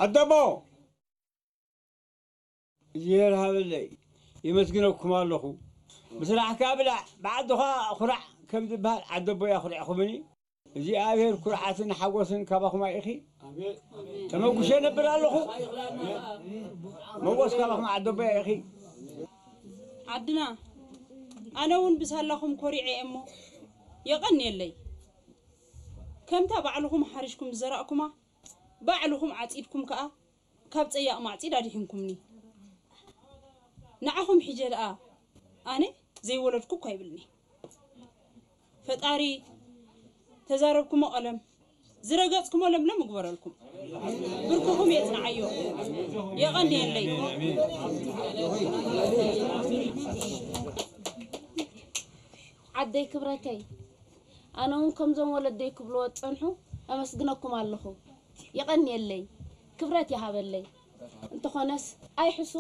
ኣደቦ! እግዚኣብሔር ሃበለይ፣ የመስግነኩም ኣለኹ። ብስራሕካ ብላዕ፣ ብዓድኻ ኩራዕ ከም ዝበሃል ዓደቦ እያ ኩሪዕኹምኒ። እግዚኣብሔር ኩርዓትን ሓጎስን ካባኹም ኣይእኺ። ተመጉሸ ነብር ኣለኹ። መጎስ ካባኹም ዓደቦ እያ ኢኺ። ዓድና፣ ኣነ እውን ብሳላኹም ኮሪዐ እየ እሞ የቐንየለይ። ከምታ ባዕልኹም ሓሪሽኩም ዝዘራእኩማ፣ ባዕልኹም ዓጺድኩም ከኣ ካብ ጸያቕ ማዕጺድ ኣድሒንኩምኒ። ንዓኹም ሒጀ ደኣ ኣነ ዘይወለድኩ እኳ ይብልኒ። ፈጣሪ ተዛረብኩሞ ቀለም፣ ዝረገጽኩሞ ለምለም ይግበረልኩም። ብርክኹም የጽንዓዮ። የቐንየለይ። ዓደይ ክብረተይ፣ ኣነ እውን ከምዞም ወለደይ ክብልዎ ዝጸንሑ ኣመስግነኩም ኣለኹ። የቐንየለይ፣ ክብረት ይሃበለይ። እንተኾነስ ኣይሕሱ፣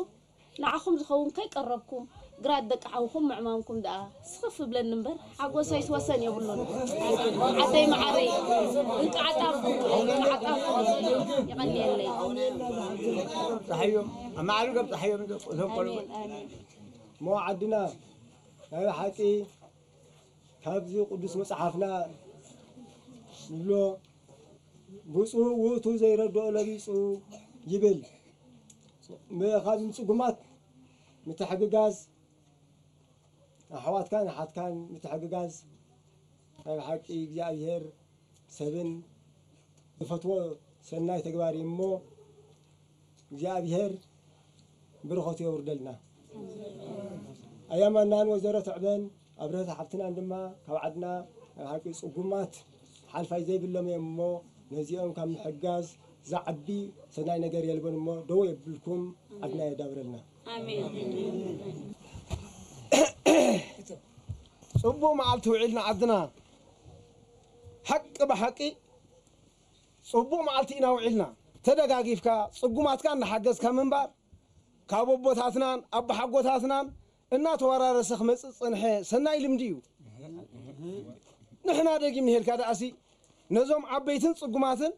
ንዓኹም ዝኸውን ከይቀረብኩም፣ ግራት ደቂ ሓውኹም ምዕማምኩም ደኣ ስኽፍ ብለኒ እምበር፣ ሓጎሰይስ ወሰን የብሉን። ዓደይ መዓረይ፣ እንቃዕ ኣጣብኩም፣ እንቃዕ ኣጣብኩም። የቐንየለይ። ጸሓዮም፣ ኣብ መዓርግ ኣብ ጸሓዮም እዞም ቆልዑ። ኣሜን፣ ኣሜን። እሞ ዓድና፣ ናይ ብሓቂ ካብዚ ቅዱስ መጽሓፍና ንብሎ፣ "ብፁዕ ውእቱ ዘይረድኦ ለቢጹ" ይብል። ም-፣ ካብ ጽጉማት ምትሕግጋዝ፣ ኣሕዋትካን ኣሓትካን ምትሕግጋዝ፣ ናይ ብሓቂ እግዚኣብሔር ሰብን ዝፈትዎ ሰናይ ተግባር እዩ እሞ፣ እግዚኣብሔር በረኸቱ የውርደልና። ኣያማናን ወይዘሮ ትዕበን ኣብረህት ሓብትናን ድማ ካብ ዓድና ናይ ብሓቂ ጽጉማት ሓልፋይ ዘይብሎም እዮም እሞ፣ ነዚኦም ካብ ምሕጋዝ ዝዓቢ ሰናይ ነገር የልቦን እሞ፣ ደው የብልኩም፣ ዓድና የዳብረልና። ኣሜን። ጽቡቕ መዓልቲ ውዒልና ዓድና። ሓቂ ብሓቂ ጽቡቕ መዓልቲ ኢና ውዒልና። ተደጋጊፍካ፣ ጽጉማትካ እናሓገዝካ ምንባር፣ ካብ ኣቦታትናን ኣቦሓጎታትናን እናተወራረሰ ክመጽእ ዝጸንሐ ሰናይ ልምዲ እዩ። ንሕና ደጊም ንሄልካ ደኣሲ፣ ነዞም ዓበይትን ጽጉማትን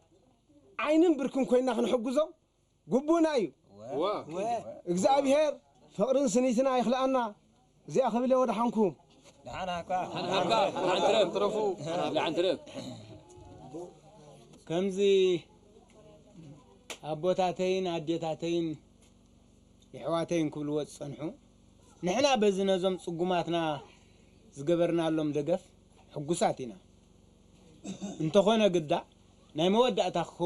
ዓይንን ብርክን ኮይንና ክንሕግዞም ግቡእና እዩ። ዋ። እግዚኣብሔር ፍቕርን ስኒትና ይኽልኣና። እዚኣ ክብል እየ ወደሓንኩም። ደሓን ሃካ። ደሓን ሃካ። ደሓን ትረፍ። ደሓን ትረፍ። ከምዚ ኣቦታተይን ኣዴታተይን የሕዋተይን ክብልዎ ዝጸንሑ፣ ንሕና በዚ ነዞም ጽጉማትና ዝገበርናሎም ደገፍ ሕጉሳት ኢና። እንተኾነ ግዳ፣ ናይ መወዳእታ